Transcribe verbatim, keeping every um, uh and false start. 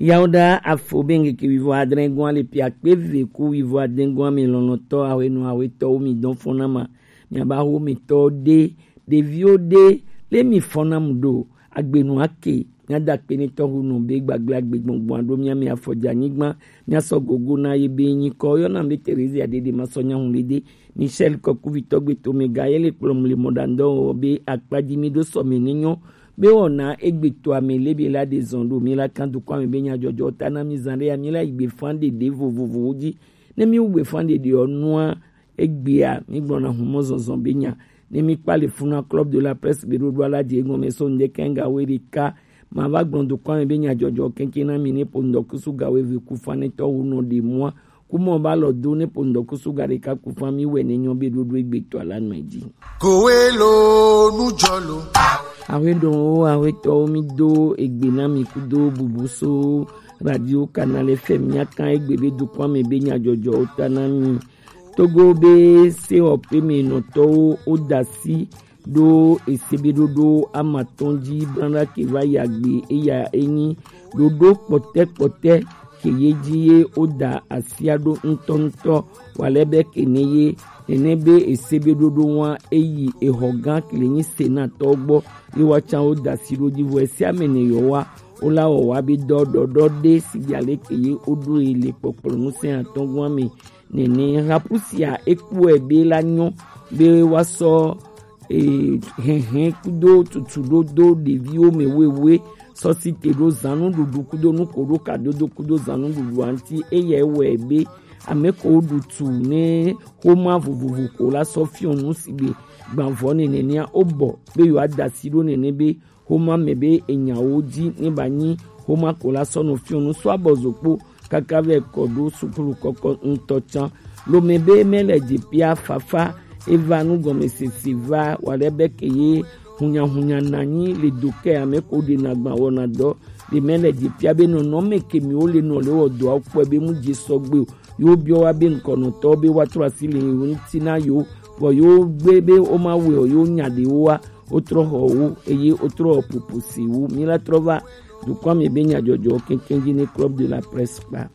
Yawoɖa afo be ŋkeke wivo adre gɔn ale pia kpe ve ku wivo ade gɔn ame lɔlɔtɔ ahwenu ahwetɔwo mi dɔn fɔn na ma. Miaba ho mi tɔ ɖe, ɖeviwo ɖe, le mi fɔn na mu ɖo, agbenu ake, miada kpe ne tɔhu nɔ be gbagble agbe gbɔngbɔn aɖo mia mi afɔdza nyigba, miasɔ gogo na ye be nyikɔ yɔna be Terezia ɖeɖe ma sɔ nyahu le de, Michel Kɔkuvitɔ gbeto me ga ye le kplɔm le mɔɖaŋdɔ be akpadzi mi ɖo sɔ me ne nyɔ, be wɔna egbe to ame le be la de zɔn ɖo mi la kan dukɔ ame be nyadzɔdzɔ ta na mi zan ɖe ya mi la yi gbe fan ɖeɖe vovovowo dzi. Ne mi wu gbe fan ɖeɖe ɔ nua egbea mi gblɔna humɔ zɔzɔ be nya. Ne mi kpa le funa Club de la Presse be ɖoɖo ala dze egɔme so ŋde kɛn ga we ɖeka. Ma va gblɔ dukɔ ame be nyadzɔdzɔ kɛnkɛn na mi ne po ŋdɔkusu ga we ve ku fanetɔ wo nɔ ɖe mua. Kumɔ ba lɔ do ne po ŋdɔkusu ga ɖeka ku fan mi wɛ ne nyɔ be ɖoɖo egbe to ala nɔ edzi. Kowe lo nujɔ lo. Awe ɖo wo awe tɔ wo mi do egbe na mi kudo bubu so Radio Canal F M mia kan egbe be dukɔ ame be nyadzɔdzɔ wo ta na mi. Togo be se ɔpe me nɔtɔwo wo da si ɖo esebeɖoɖo amatɔn dzi blanɖa ke va yi agbe eya enyi ɖoɖo kpɔtɛkpɔtɛ ke ye dzi ye woda asia ɖo ŋutɔŋutɔ walɛ be ke ne ye nene be esebeɖoɖo wa eyi exɔ gã ke le nyi senatɔ gbɔ ye wa tsa woda asi ɖo dzi vɔ esia me ne yɔ wa wola wɔ wa be dɔ ɖɔɖɔ ɖe si dza le ke ye woɖo ye le kpɔkplɔ nu se atɔn gɔn me nene hapusia ekpɔe be la nyɔ be wa sɔ e, hɛhɛ kudo tutu ɖo do ɖeviwo me wewe sɔsi te ɖo zanu ɖuɖu kudo nuko ɖo kadodo kudo zanu ɖuɖu anti eya ewɔe be ame ko ɖu tu ne xoma vovovo ko la sɔ fiɔ nu si be gbavɔ nene nea wobɔ be yewoada asi ɖo nene be xoma me be enyawo dzi ne ba nyi xoma ko la sɔ nɔ fiɔ nu sɔ abɔ zokpo kaka vɛ kɔ ɖo sukulu kɔkɔ ŋutɔ tsã. Lome be mele dze pia fafa eva nugɔmesese va wa ɖe be ke ye hunyahunya nanyi le do ke ame ko ɖe na gba wɔna dɔ ɖe mele dze pia be nɔnɔme ke mi wo le nɔ le wɔ dɔa kpɔe be mu dze sɔgbe o. Yo biɔ wa be ŋkɔnɔtɔ be wa trɔ asi le yo ŋuti na yo vɔ yo gbe be wo ma wɛ o yo nya ɖe wo wa wo trɔ xɔ wo eye wo trɔ popo si wo mi la trɔ va dukɔ mi be nyadzɔdzɔ keŋkeŋ dzi ne Club de la Presse kpa.